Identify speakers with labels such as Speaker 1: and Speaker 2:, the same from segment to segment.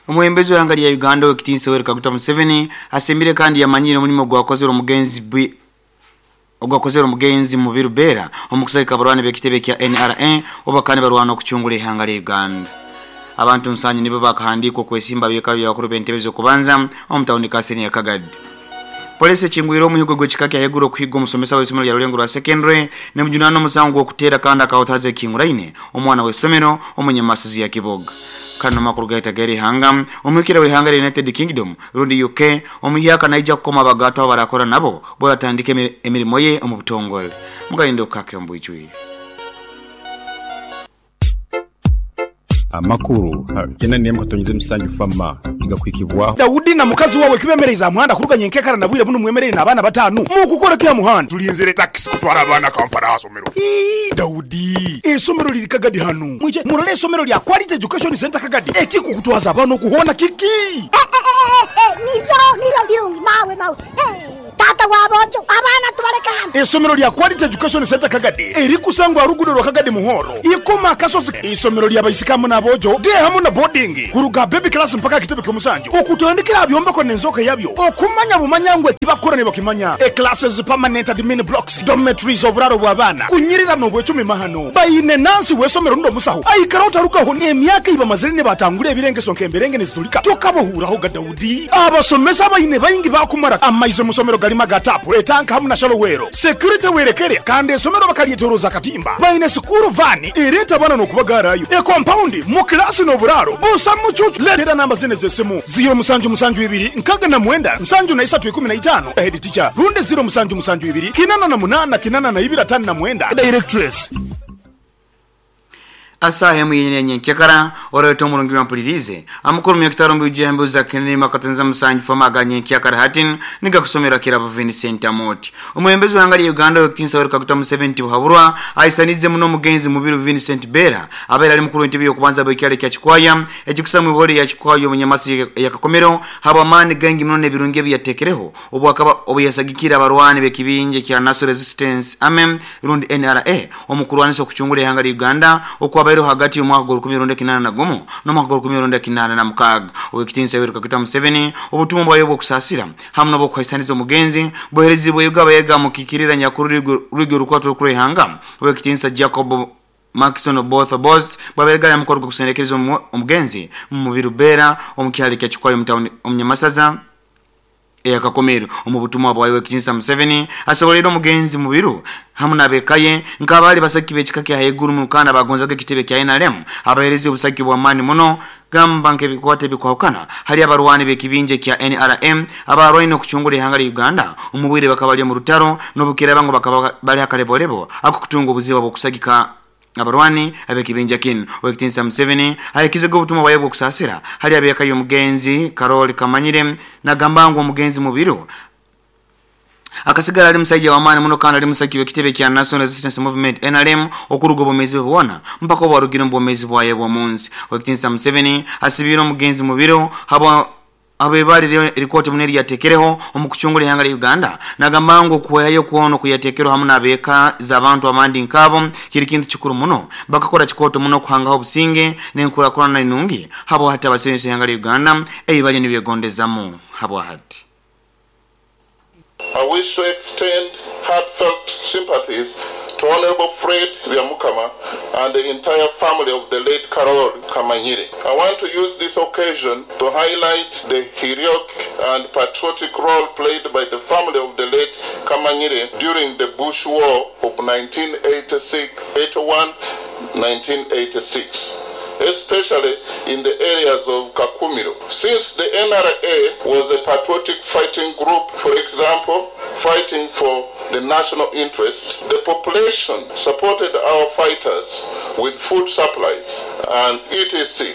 Speaker 1: Omwebembezi w'eihanga rya Uganda Ow'ekitiinisa Yoweri Kaguta Museveni asiimire kandi yamanyiire omurimo ogwakozirwe omugenzi ogwakozirwe omugenzi Mubiru Bera omu kusagika abarwani b'ekitebe kya NRA obu bakaba nibarwana okucungura eihanga rya Uganda. Abantu nsanju nibo bakahandiikwa okwesimba aha byekaro by'abakuru b'entebe z'okubanza omu tawuni kanseri ya Kagadi. Poliisi ekingwire omuhigo gw'ekika kya haiguru okuhiga omusomesa w'eisomero rya Rurengo rwa Secondary nemujunaana omusango gw'okuteera kandi akahutaza ekihinguraine omwana w'eisomero omu Nyamasizi ya Kiboga. Kanu amakuru gaita ag'erihanga, Omuhikira w'eihanga rya United Kingdom rundi UK omuhyaka naija kukoma abagaatwa abarakora nabo bw'oratandika emirimo ye omu butongole. Mugalinde okukake omu bwijwire.
Speaker 2: Amakuru kyenda n'emwe katonyeza emisanju FAMA nigakuhikibwaho.
Speaker 3: Daudi na mukazi wawe kibemereize aha muhanda kuruga nyenkekara na bwire bunu mwemereire n'abaana bataanu. Mukukora ki aha muhanda?
Speaker 4: Tulinzire takisi kutwara abaana Kampala aha somero.
Speaker 3: Ii, Daudi, eisomero liri Kagadi hanu. Mwije murole eisomero lya Quality Education Centre Kagadi. Ekikukutwaza abaana okuhoona kiki?
Speaker 5: Eh, eh, eh, eh, nibyo, nibyo birungi, mawe, mawe. Eh. Taata wa boojo, abaana tubaleke hano.
Speaker 3: Eisomero lya Quality Education Centre Kagadi erikusangwa aha luguudo lwa Kagadi Muhoro, Ikoma Akasozi. Eisomero lya baisiki hamu n'aboojo, day hamu na boarding, kuruga aha baby class mpaka aha kitebe ky'omusanju, okutandikira aha byombeko n'enzooka yabyo, okumanya bumanya ngu ekibakukora nibakimanya. E Classes, permanent admin blocks, dormitories, oburaaro bw'abaana, kunyirira n'obwecumi mahano. Baine nansi w'eisomero rundi omusaho aikara otarugaho n'emyaka ei bamazire nibatangura ebirengeso nk'emberenge nizitulika tokabahuurahoga. Daudi. Abasomesa abaine baingi baakumara amaizi omu somero galimu aga taapu, etanka hamu na shallow well. Security werekere kandi esomero bakalyetoroza akatimba. Baine sikuuru vaani ereeta abaana n'okubagaarayo. Ekompaundi mu kilaasi n'oburaaro busa mucuucu. Leetera namba zinu ez'esimu, ziiro musanju musanju ibiri nkaga na mwenda nsanju na isatu ikumi na itaano, Head teacher, rundi ziiro musanju musanju ibiri kinana na munaana kinana na ibiri atano na mwenda, Directress.
Speaker 1: Ase emu yenyini ya nyenkyakara, oroete omurungi byampuliriize, amakuru myakitaro mbiujia embuzi za Kenene makatonza musanju fama aga nyenkyakara hati nigakusomera Kirabo Vincent Amooti. Omwebembezi w'eihanga lya Uganda Owekitiinisa Yoweri Kaguta Museveni Tibuhaburwa ahisaniize muno omugenzi Mubiru Vincent Bera abaire ali mukuru w'entebe y'okubanza bw'ekyaro ekya Kikwaya ekikusa mwihoro erya Kikwaya omu Nyamasi eya Kakomero habw'amaani gaingi muno n'ebirungi ebi yatekereho obu akaba obu yasagikiire abarwani b'ekibinja ekya National Resistance Army rundi NRA omu kurwanisa okucungura eihanga lya Uganda okwabaireho hagati y'omwaka gw'orukumi rwenda kinaana na gumu n'omwaka gw'orukumi rwenda kinaana na mukaaga. Ow'ekitiinisa Yoweri Kaguta Museveni obutumwa bwayo obw'okusaasira hamu n'obw'okuhaisaniza omugenzi buheerezibweyo abayega amukiikirira nyakuru rwigi orukwata orukuru eihanga Ow'ekitiinisa Jacob Markson Oboth Oboth bwabaire gari aha mukoro gw'okusendekereza omugenzi Mubiru Bera omu kyaro ekya Kikwayo omu tawuni omu Nyamasaza eya Kakomero. Omu butumwa bwayo Ow'ekitiinisa Museveni asoboleire omugenzi Mubiru hamu n'ab'eka ye nk'abaali basagiki b'ekika kya haiguru muno kandi abaagonzaga ekitebe kya nrm abaheereza obusagiki bw'amaani muno gamba nk'ebikwata ebikwahukana hali abarwani b'ekibinja ekya nrm abaarwaine okucungura ihanga lya Uganda omu bwire bakaba bali omu rutaro n'obukiraaba ngu bakaba bali h'akalebolebo ak'okutunga obuzibu habw'okusagika Abarwani ab'ekibinja kinu, Ow'ekitiinisa Museveni ahikizege obutumwa bwaye obw'okusaasira hali ab'eka y'omugenzi Karoli Kamanyire nagamba ngu omugenzi Mubiru akasigara ali musaija w'amaani muno kandi ali musagiki w'ekitebe kya National Resistance Movement, nrm, okuruga obwomeezi bwe bwona mpaka obu arugire omu bwomeezi bwaye obw'omunsi. Ow'ekitiinisa Museveni asibiire omugenzi Mubiru habwa Habw'eibara erikooto muno eriyatekereho omu kucungura ihanga lya Uganda, nagamba ngu okuhwehayo kwona okuyatekereho hamu n'abeeka z'abantu abandi nk'abo kiri kintu kikuru muno. Bakakora kikooto muno kuhangaho obusinge n'enkurakurana enungi habwahati abasebensi b'ihanga lya Uganda ei baliyo nibegondezamu habwahati.
Speaker 6: I wish to extend heartfelt sympathies to Honourable Fred Byamukama and the entire family of the late Karoli Kamanyire. I want to use this occasion to highlight the heroic and patriotic role played by the family of the late Kamanyire during the Bush War of 1986, 81, 1986 especially in the areas of Kakumiro. Since the NRA was a patriotic fighting group, for example, fighting for the national interest, the population supported our fighters with food supplies and etc.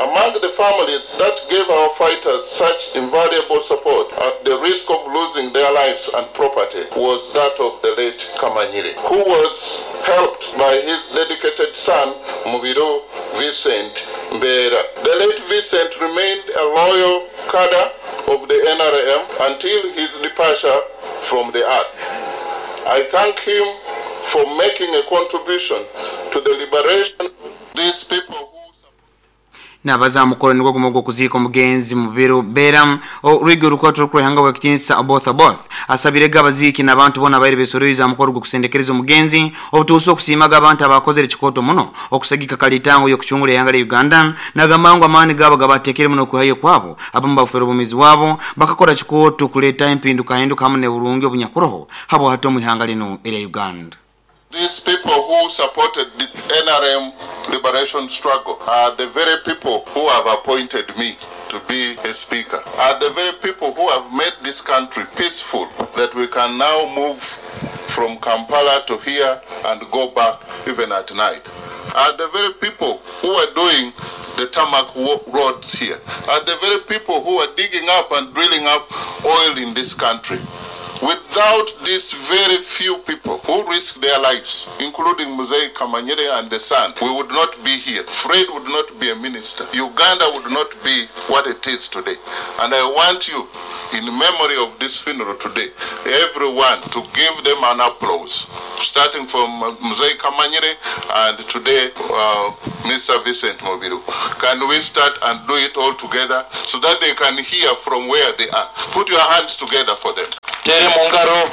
Speaker 6: Among the families that gave our fighters such invaluable support at the risk of losing their lives and property was that of the late Kamanyire, who was helped by his dedicated son, Mubiru Vincent Mbera. The late Vincent remained a loyal cadre of the NRM until his departure from the earth. I thank him for making a contribution to the liberation of these people.
Speaker 1: Nabaza mukoro nigwo gumu ogw'okuziika omugenzi Mubiru Bera orwigi orukwato rw'ihanga bw'ekitiinisa Oboth Oboth asabirege abaziiki n'abantu boona abaire besoroize aha mukoro gw'okusendekereza omugenzi obutuusa okusiimaga abantu abakozere ekikooto muno okusagika kalitango y'okucungura ihanga lya Uganda. Nagamba ngu amaani gaabo gabateekere muno okwihayo kwabo abamu bafeerwa obwomeezi bwabo bakakora kikooto kuleetaho empindukahinduka hamu n'oburungi obunyakuroho habwahati omu ihanga linu erya Uganda.
Speaker 6: These people who supported the NRM liberation struggle are the very people who have appointed me to be a speaker, are the very people who have made this country peaceful, that we can now move from Kampala to here and go back even at night, are the very people who are doing the tarmac roads here, are the very people who are digging up and drilling up oil in this country. Without these very few people who risk their lives, including Mzee Kamanyire and the son, we would not be here. Fred would not be a minister. Uganda would not be what it is today. And I want you, in memory of this funeral today, everyone to give them an applause, starting from Mzee Kamanyire and today Mr. Vincent Mubiru. Can we start and do it all together so that they can hear from where they are? Put your hands together for them.
Speaker 7: Tere mungaro.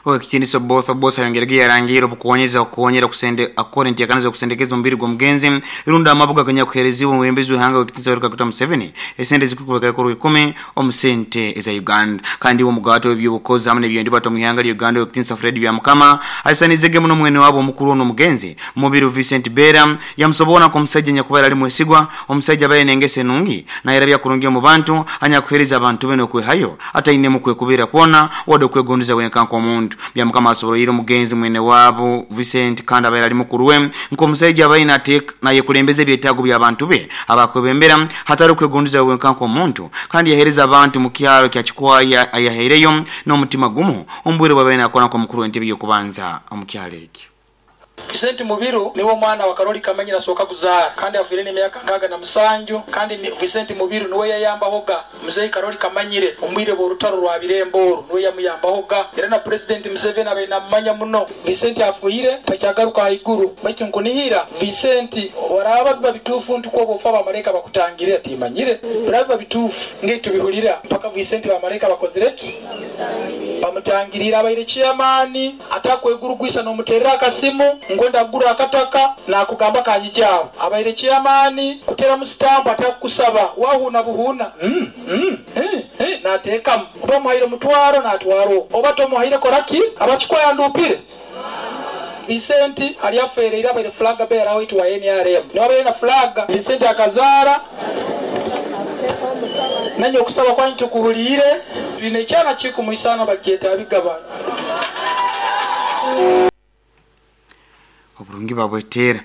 Speaker 1: Oweekitiinisa Oboth Oboth ayongerege yarangiire obukuwonyeza okuwonyera okusende akora enteekaniza okusendekeza omubiri gw'omugenzi irunda amabuga aganyakuheerezibwa omwebembezi w'ihanga w'ekitiinisa Yoweri Kaguta Museveni esente zikukubeka ikumi omu sente eza Uganda. Kandi omugato w'ebyobukozi hamwe n'ebyendibata omu ihanga lya Uganda w'ekitiinisa Fred Byamukama aisanizege muno mwene wabo omukuru ono omugenzi Mubiru Vincent Bera yamusobola nk'omusajja nyakubaire ali mwesigwa, omusajja abaire n'engeso enungi nayerabya kurungi omu bantu anyakuheereza abantu be n'okwehayo atainemu kwekubira kwona wadde okwegondiza wenka nk'omuntu. Byamukama asoboleire omugenzi mwene wabo Vincent kandi abaire ali mukuru we nk'omusajja abaine nayekulembeza ebyetaago by'abantu be abakwebembera hatari okwegondiza wenka nk'omuntu kandi yaheereza abantu mu kyaro kya Kikwaya ayahaireyo n'omutima gumu omu bwire bwabaire nakora nk'omukuru w'entebe y'okubanza omu kyaro ekyo.
Speaker 8: Vincent Mubiru niwe omwana wa Karoli Kamanyira asooka kuzaara kandi afiire n'emyaka 67 kandi Vincent Mubiru niwe yayambahoga Mzee Karoli Kamanyire omwire bw'orutaro rwa Birembo oru niwe yamuyambahoga era na President Museveni abaire namumanya muno. Vincent afiire takyagaruka haiguru baitu nkunihira Vincent oraba biba bituufu nti kwoba ofa abamalaika bakutangire atimanyire biraba biba bituufu ng'etubihurira mpaka Vincent bamalaika bakozire ki bamutangirira abaire chairman atakwegurugwisa n'omuterera akasimu ngwenda kugura akataka nakugamba kanyijawo abaire chairman kutera musitambo atakusaba wahuna buhuna nateekamu oba omuhaire mutwaro natwaro oba tomuhaire koraki abakikwaya ndupire. Vincent ali afeereire abaire flag bearer waitu wa NRM niwe abaire na flag Vincent akazaara nanye okusaba kwanyu tukuhuliire twine ekyana kikumuisana bakyeta abigaba
Speaker 1: oburungi babwetera.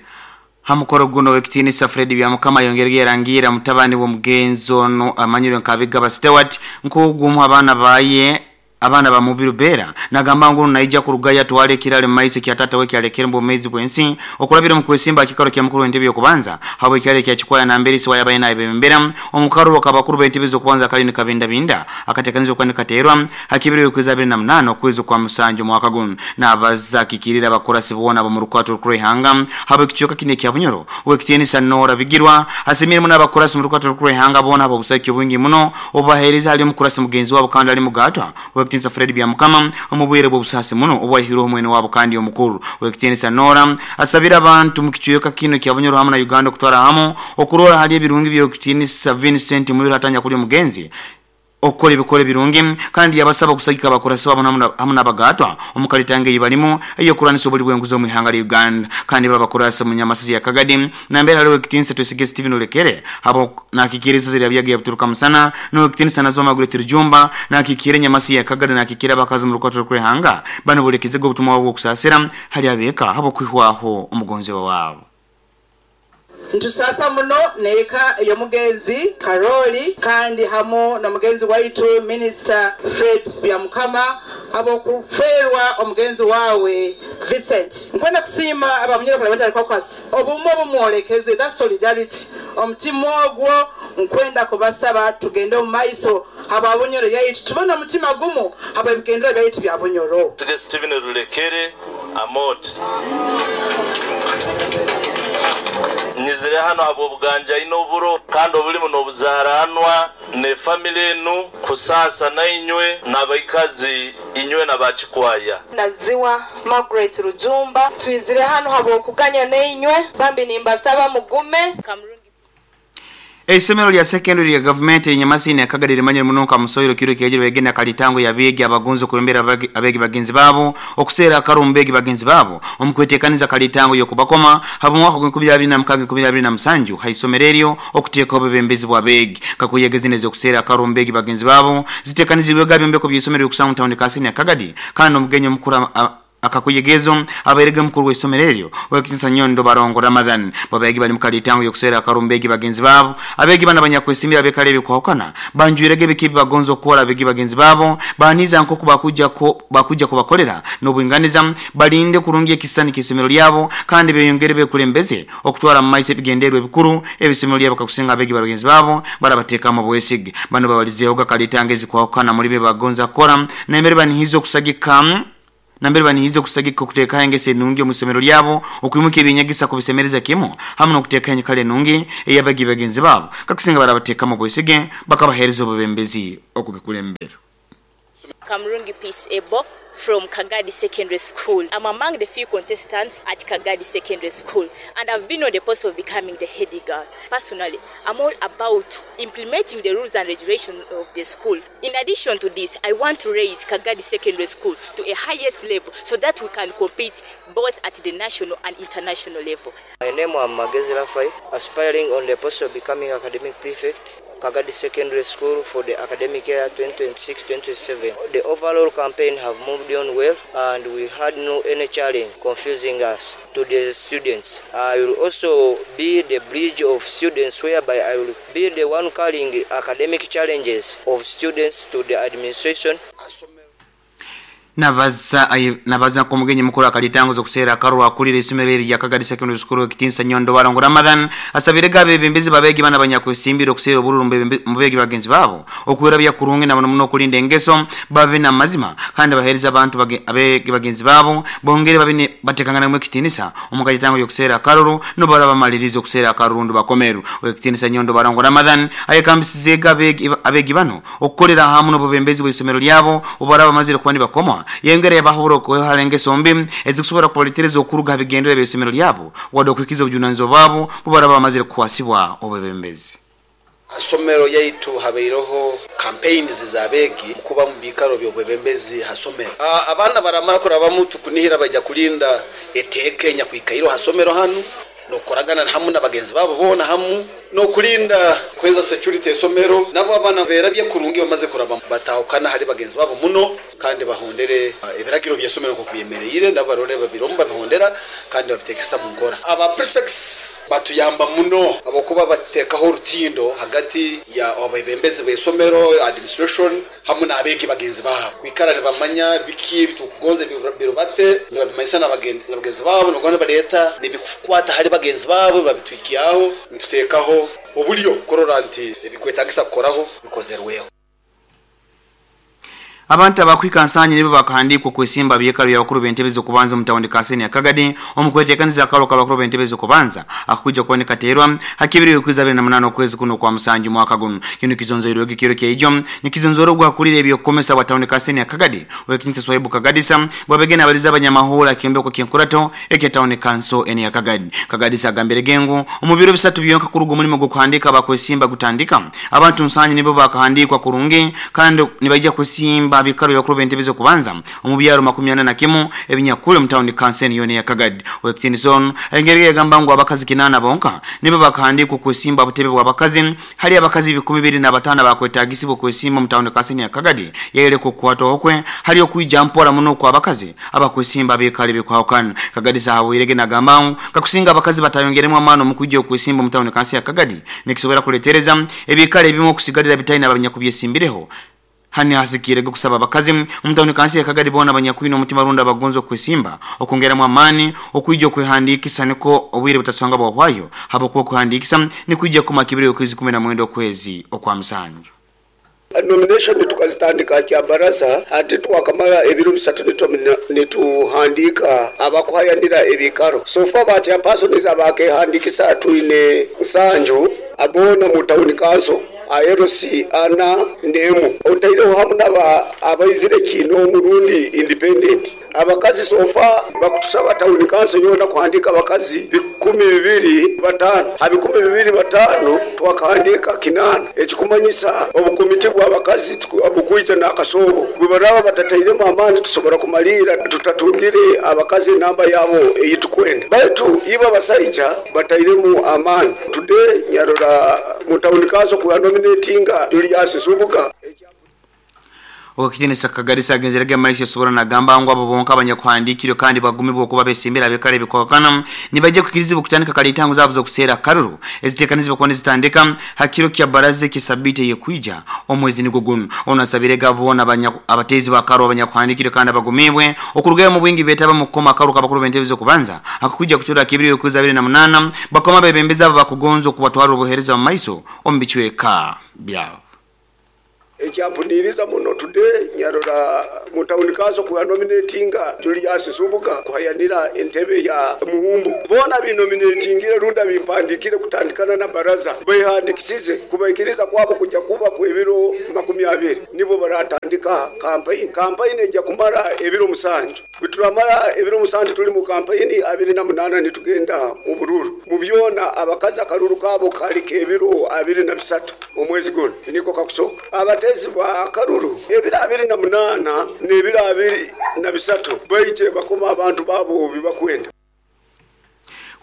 Speaker 1: Hamukoro guno w'ekitiinisa Fred Byamukama yongerege yarangira mutabani w'omugenzi ono amanyirwe nka Abigaba Stewart nk'ogumu abaana baye abaana ba Mubiru Bera nagamba ngu naija kurugaya twale kirale maiso kya tata we kyalekere mbomezi bwensi okulabira mu kwesimba kikaro kya mukuru w'entebe y'okubanza habwe kyale kya Kikwaya na mbere siwa yabaye naye bembera omukaro wakabakuru b'entebe z'okubanza kali ni kabinda binda akatekanizwa kwani katerwa hakibiri kwezi 28 okwezi kwa musanju mwaka guno nabaza kikirira abakorasi bona bo mu rukwato rw'ihanga habwe kicoka kine kya Bunyoro w'ekitiinisa Nora Bigirwa asimire muno abakorasi mu rukwato rw'ihanga bona abo busaki obwingi muno obahereza ali mukurasi mugenzi wabo kandi ali mugatwa w'ekitiinisa Fred Byamukama omubwire bw'obusasi muno obwahirwe omwene wabo kandi omukuru w'ekitiinisa Nora asabira abantu mu kicoka kino kya Bunyoro hamwe na Uganda okutwara hamu okurora hali ebirungi by'ekitiinisa Vincent Mubiru hatanya kuli omugenzi okukora ebikora ebirungi kandi yabasaba okusagika abakurasi babo hamwe n'abagatwa omukalitange eyibalimo ey'okuranisa obuli bw'enguzi omu ihanga lya Uganda kandi babakurasa mu Nyamasisi ya Kagadi nambere haliho ekitiinisa Twesige Stephen Olekere abo nakikiriza zirya byaga yabituruka musana n'ekitiinisa nazo Margaret Rujumba nakikira Nyamasisi ya Kagadi nakikira abakazi mu rukwato rw'ihanga bano bulekezego obutumwa bw'okusasira hali abeka abo kwihwaho omugonzi wabo.
Speaker 9: Ntusasa muno neeka y'omugenzi Karoli kandi hamu n'omugenzi waitu Minister Fred Byamukama ab'okufeerwa omugenzi waawe Vincent. Nkwenda kusiima abamunyoro Parliamentary Caucus obumwe obumwolekeze that solidarity omutima ogwo nkwenda kubasaba tugende omu maiso aba Bunyoro yaitu tubone omutima gumu aba ebigendera byaitu bya Bunyoro.
Speaker 7: Stephen Rulekere Amot. Twizire hanu habw'obuganjaine oburo kandi obulimu n'obuzaranwa ne family enu kusaasa nainywe n'abaikazi inywe n'abakikwaya.
Speaker 10: Naziwa Margaret Rujumba, Twizire hanu habw'okuganya nainywe, bambi nimbasaba mugume.
Speaker 1: Eisomero lya secondary lya gavumenti enyamasini akagadi limanyire muno nka Musoiro kiro kyejire begenda kalitango ya begi abagonzo kulembera abegi bagenzi babo okuseera akarumbegi bagenzi babo omukwetekaniza kalitango yokubakoma habo mwaka gwa 2026 2027 haisomero eryo okuteeka obubembezi bwa begi kakuyegezineza okuseera akarumbegi bagenzi babo zitekanizibwe gabyombeko by'isomero yokusanga town kasini akagadi kandi omugenyi mukuru akakuyegezo abaerege mukuru w'isomero eryo wekitinsa Nyondo Barongo Ramadhan babegi bali mukalitango yokusera akarumbegi bagenzi babo abegi bana banyakwesimbira bekale bikwahukana banjwirege bikibi bagonzo okora abegi bagenzi babo baniza nko bakuja kubakolera n'obwinganiza balinde kurungi ekisani kisomero lyabo kandi beyongere bekulembeze okutwara mu maiso ebigendererwa ebikuru ebisomero lyabo kakusinga abegi bagenzi babo barabateeka mu bwesige bano babalizeeho kalitango ezikwahukana muri be bagonza kora nembere banihizo kusagika nambere banihizo kusagika okuteeka engese nungi omusomero lyabo okwimuka ebinyagisa kubisemereza kimu hamwe n'okuteeka enyikale nungi eyabagi bagenzi babo kakusinga barabateeka mu bwesige bakabahereza obubembezi okubikulembera.
Speaker 11: Kamurungi Peace Ebo from Kagadi Secondary School. I'm among the few contestants at Kagadi Secondary School, and I've been on the post of becoming the head girl. Personally, I'm all about implementing the rules and regulations of the school. In addition to this, I want to raise Kagadi Secondary School to a highest level so that we can compete both at the national and international level.
Speaker 12: My name is Magezi Rafai, aspiring on the post of becoming academic prefect, Kagadi Secondary School for the academic year 2026-2027. The overall campaign have moved on well and we had no any challenge confusing us to the students. I will also be the bridge of students, whereby I will be the one carrying academic challenges of students to the administration.
Speaker 1: Nabaza kumugenyi mukuru akalitango okuseera akarwa akulira isomero erya Kagadi Secondary School ekitinsa Nyondo Barongo Ramadhan asabire gabe bembezi babegi bana banyakwesimbira okuseera obululu mubegi bagenzi babo okwera kurungi na muno okulinda engeso babe na mazima kandi bahereza abantu abegi bagenzi babo bongere babe batekangana mu ekitinisa omukalitango yokuseera akaruru no baraba malirizo okuseera akarundu bakomeru ekitinisa Nyondo Barongo Ramadhan ayekambisize gabe abegi bano okukolera hamu n'obubembezi bw'isomero lyabo obaraba mazire kubandi bakoma yengere yabahuro ko halenge sombi ezikusobora kupolitereza okuruga bigendera by'isomero lyabo wado kwikiza obujunanzo babo bubaraba amazire kuwasibwa obebembezi.
Speaker 13: Asomero yaitu habeiroho campaigns zabegi kuba mu bikaro byobwebembezi hasomero. Abana baramara kurabamu tukunihira bajya kulinda eteke nyakwikairo hasomero hanu nokoragana hamu nabagenzi babo bona hamu no kulinda kweza security esomero nabo abana berabye kurungi bamaze kuraba batahukana hari bagenzi babo muno kandi bahondere ebiragiro byesomero ko kubyemereyire nabo barore babiromba bahondera kandi babitekesa mu ngora. Aba prefects batuyamba muno abokuba batekaho rutindo hagati ya abebembezi b'esomero administration hamwe nabegi bagenzi babo kwikarane bamanya biki bitukugoze birobate nabamanyisa nabagenzi babo nogona baleta nibikukwata hari bagenzi babo babitwikiyaho ntutekaho obulyo korora nti ebikwetagisa kukoraho bikozerweho.
Speaker 1: Abantu abakwikansanye nibo bakahandikwa kwesimba byekaro byabakuru b'entebe kubanza omutawundi Kaseni Akagadi omukwetekaniza akalo kabakuru b'entebe kubanza akuja kuboneka terwa hakibiri okwiza 28 okwezi kuno kwa musanju mwaka guno kino kizonzoirwe kiro kyeijo nikizonzoro gwakulira ebyokomesa wa tawundi Kaseni Akagadi wekinse Swaibu Kagadisa bwabegena abaliza abanyamahura kimbeko kyenkurato ekye tawundi kanso eni Akagadi. Kagadisa agambire gengo omubiro bisatu byonka kuruga omulimo gw'okuhandika bakwesimba gutandika abantu nsanye nibo bakahandikwa kurungi kandi nibaija kwesimba bikaro yakuru bentebe kubanza omubyaro 41 ebinyakule mutawundi kanseni yone ya Kagadi. Wekitinison engeri yagamba ngo abakazi 8 bonka nibo bakahandikwa kwesimba butebe bwa bakazi hali abakazi 25 bakwetagisibwa kwesimba mutawundi kanseni ya Kagadi yele kukwata okwe hali okuija mpora muno kwa abakazi abakwesimba bekale bekwahukana. Kagadi sahabu nagamba ngo kakusinga abakazi batayongeremu amano mukujja okwesimba mutawundi kanseni ya Kagadi nikisobora kuletereza ebikale ebimu okusigalira bitaina abanyakubyesimbireho hani hasikire kusaba abakazi omutawuni kansi ya Kagadi bona abanyakwino omutima runda abagonzo kwesimba okongeramu amani okwijja okwehandikisa niko obwire butasanga bwahwayo habo kuhandikisa nikwijja kumakibire okwezi 19 okwezi okwa musanju.
Speaker 14: Nomination tukazitandika kya baraza ati twakamara ebiro bisatu nituhandika abakuhayanira ebikaro. So far ba chairpersons abakehandikisa twine nsanju abona mu town council aerosi ana nemu otaireho hamu naba abaizire kino murundi independent. Abakazi sofa bakutusaba town council yona kuhandika abakazi 25 ha 25 twakahandika 8 ekikumanyisa obukomiti bw'abakazi obukwita n'akasobo bwe baraba batatairemu amaani tusobora kumalira tutatungire abakazi enamba yabo eyitukwenda baitu ibo abasaija batairemu amaani. Today nyarora mu town council ku nominatinga Julius Nsubuga.
Speaker 1: Okitinisa Kagarisa agenzerege maisha sobora nagamba ngo abo bonka abanyakuhandikiro kandi bagumibwa okuba besimbira bekare bikokana nibaje kukirizibwa kutandika kale itango zabo zo kusera karuru ezitekanizibwa kwa zitandika hakiro kya baraze kisabite yekuija omwezi niko guno onasabire gabona abatezi bakaro abanyakuhandikiro kandi abagumibwe okurugaya mu bwingi betaba mu koma karu kabakuru bentebizo kubanza akukuja kutura kibiri yokuza 28 bakoma bebembeza bakugonzo kubatwara obuhereza mu maiso ombichweka byabo.
Speaker 14: Ekyampuniriza muno today nyarora mu town council ku nominatinga Julius Nsubuga kuhayanira entebe ya Muhumbu. Bona binominatingire runda bimpandikire kutandikana na baraza behandikisize kubaikiriza kwabo kujya kuba ku ebiro 20 nibo baratandika campaign. Campaign ejya kumara ebiro 7 bituramara ebiro 7 tuli mu campaign 28 nitugenda mu bururu mu byona abakazi akaruru kabo kali kebiro 23 omwezi gono niko kakusoka abatezi ba karuru ebiro 28 n'ebiro 23 baije bakoma abantu babo bibakwenda.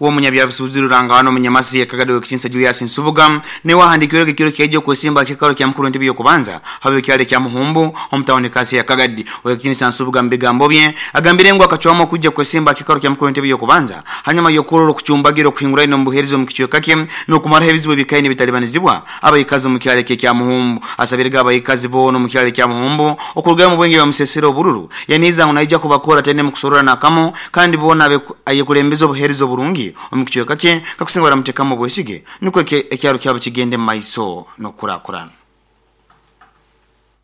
Speaker 1: Uwo munyabyabusubizo rangano munyamasi yakagado wekisinsa Julius Nsubuga ne wahandikirwe kiro kyejo kwesimba kikaro kya mukuru ntibiyo kubanza habe kyale kya Muhumbu omutawone kasi ya Kagadi. Wekisinsa Nsubuga mbigambo bye agambire ngo akachwamo kujja kwesimba kikaro kya mukuru ntibiyo kubanza hanyuma yokororo kucumbagiro kuhingura ino mbuherizo mu kichweka kye no kumara ebizibu bikaine bitalibanizibwa abayikazi mu kyale kya Muhumbu. Asabirega abayikazi bono mu kyale kya Muhumbu okurugaya mu bwenge bamusesero bururu yaniza unaija kubakora tene mu kusorora nakamo kandi bona ayekulembeza obuherizo burungi omukichweka kye kakusinga baramutekamo bwesige niko ekyaro kyabo kigende maiso no kurakurana.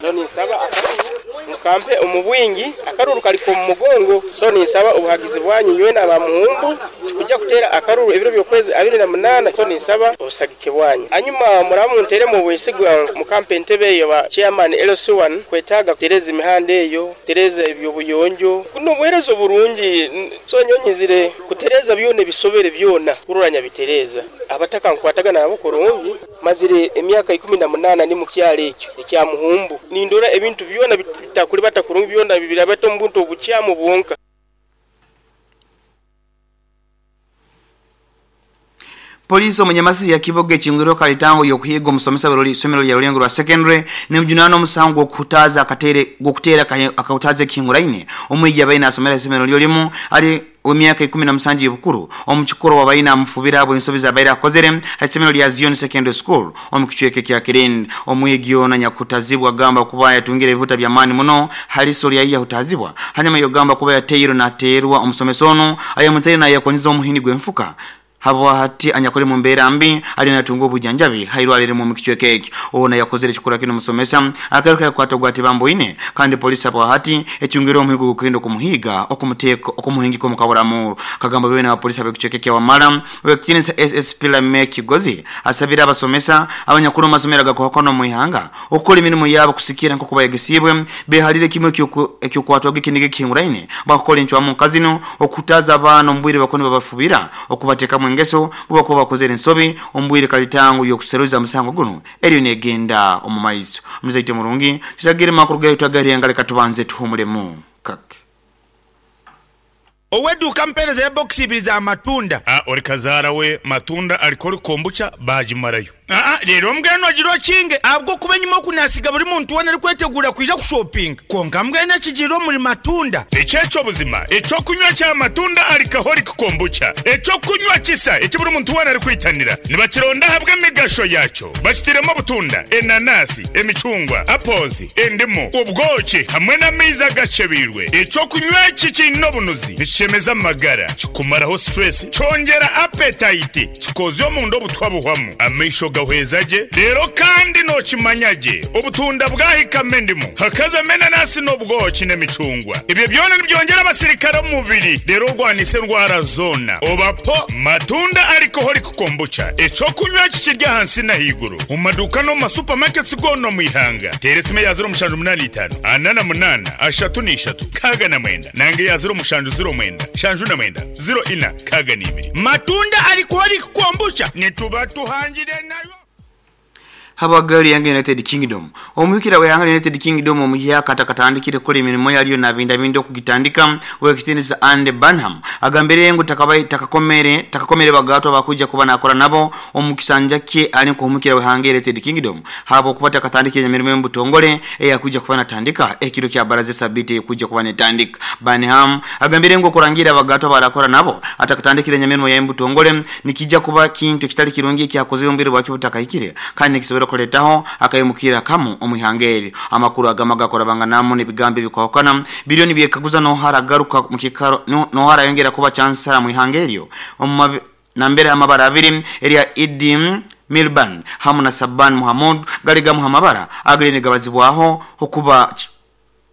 Speaker 15: Noni nsaba mukampe omubwingi akaruru kali ku mugongo so ninsaba obuhagizi bwanyu nywe na bamuhumbu kujya kutera akaruru ebiro byokwezi 28 so ninsaba obusagike bwanyu anyuma muramu ntere mu bwesigwa mukampe entebe eyo ba chairman LC1 kwetaga kutereza imihanda eyo kutereza ebyo buyonjo kuno buherezo burungi so nyonyizire kutereza byone bisobere byona kururanya bitereza abataka nkwataga nabo kurungi mazire emyaka 18 ni mukyalo ekyo ekya Muhumbu nindora ebintu byona bitakuli batakurungi byona bibirabato mbuntu obukyamu bwonka.
Speaker 1: Polisi omunyamasi ya Kiboge chingiro kalitango yokuhiga omusomesa beroli somero lya Rulengo rwa secondary ne mjunano omusango okutaza akatere gokutera akautaze kinguraine omwiji abaina asomera somero lyo limu ali omyaka 17 y'obukuru omukikoro wabaina amufubira abo ensobi abaira akozere hasomero lya Zion Secondary School omukichweke kya Kirindi. Omwigi ona nyakutazibwa gamba kuba yatungire ebivuta bya mani muno haliso lya iya hutazibwa hanyuma yogamba kuba yateiro na terwa omusomesono ayamutera na yakoniza omuhini gwenfuka habo hati anyakole mu mbera mbi ali natunga obujanjabi hairwalire mu kichweke ekyo ona yakozere chikora kino musomesa akaruka yakwata gwati bambo ine kandi polisi abo hati echungiro omuhigo gukendo kumuhiga okumuteko okumuhingiko mukaburamu kagamba bebe na polisi abe kichweke kya Wamala wekinisa SSP la Meki Gozi asabira abasomesa abanyakuru masomera gakokono muihanga okukora imirimo yabo kusikira nko kubayegesibwe behalire kimwe ekyo kwatwa gikinige kinguraine bakora inchwa mu kazino okutaza abana mbwire bakone babafubira okubateka mu ngeso buba bakozere nsobi ombwire kalitangu yokuseruza musango guno eriyo negenda omumaiso muzaite murungi tutagire makuru gayo tutagari angale katubanze tuhumulemu kake
Speaker 16: Oweduka mpereza ya box ibiri za matunda.
Speaker 4: Ori kazara we matunda alikori kombucha bajimarayo.
Speaker 16: Rero mbweno agiro kinge abwo kuba nyuma kunasiga buri muntu wona ari kwetegura kuja kushopping. Konka mbwene kigiro muri matunda.
Speaker 4: Echecho buzima, echo kunywa cha matunda alcoholic kombucha. Echo kunywa kisa eki buri muntu wona ari kwitanira. Nibakironda habwe migasho yacho. Bakitiremo butunda, enanasi, emicungwa, apples, endimu, ubwoki hamwe n'amaizi agacebirwe. Echo kunywa kikino bunuzi. Chemeza magara, kikumaraho stress, chongera appetite, kikozyo mu ndo butwa buhwamu. Amaisho gawe Nigahweza gye reero kandi nookimanya gye obutunda bwahikamu endimu, hakazamu enanasi n'obwoki n'emicungwa. Ebyo byona nibyongyera abasirikare omu mubiri reero orwanise endwara zoona. Oba po Matunda Alcoholic Kombucha, eky'okunywa ekikiri ahansi n'ahaiguru omu maduuka n'omu ma supermarkets goona omu ihanga. Teera esimu eya 0785 48 33 69 nanga eya 0709 79 04 62.
Speaker 16: Matunda Alcoholic Kombucha nituba tuhangire nayo.
Speaker 1: Habwa Gari yange United Kingdom. Omuhikira w'ihanga lya United Kingdom omuhyaka atakatandikire kukora emirimo yalyo nabindabinda okugitandika ow'ekitiinisa Andy Burnham agambire ngu takabai takakomere takakomere bagatwa bakuja kuba nakora nabo omu kisanja kye ali nk'omuhikira w'ihanga lya United Kingdom habwokuba takatandikire emirimo y'omubutongole eyakuja kuba natandika ekiro kya baraza sabiti ekuja kuba netandika. Burnham agambire ngu okurangira abagatwa barakora nabo atakatandikire emirimo y'omubutongole nikija kuba kintu ekitali kirungi ekyakozire omubiri bwakyo butakahikire kandi nikisobora kuletaho akayimukira kamu omu ihanga eri. Amakuru agama gakora banganamu n'ebigambo ebikwahukana biriyo nibyekaguza nohara agaruka mu kikaro nohara yongera kuba chansara mu ihanga eryo nambere amabara abiri erya Idi Milban hamu na Saban Muhammad gali gamu amabara agali nigabazibwaho okuba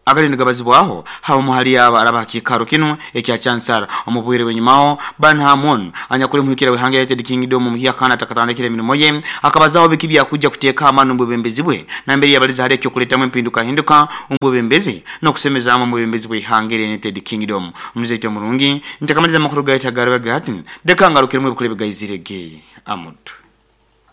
Speaker 1: agali nigabazibwaho hamu hali aba araba kikaro kinu ekya chansara. Omubwire wenyumaho Burnham anyakuli muhikira w'ihanga lya United Kingdom omuhyaka atakatandikire emirimo ye akabazaho biki byakuja kuteeka amani omu bwebembezi bwe nambere yabaliza hali ekyokuletamu empinduka hinduka omu bwebembezi n'okusemezaamu omu bwebembezi bw'ihanga lya United Kingdom. Omuzaito omurungi ntakamaliza amakuru gaita gariba gati deka ngarukiremu ebikuru ebigayizire ge amutu.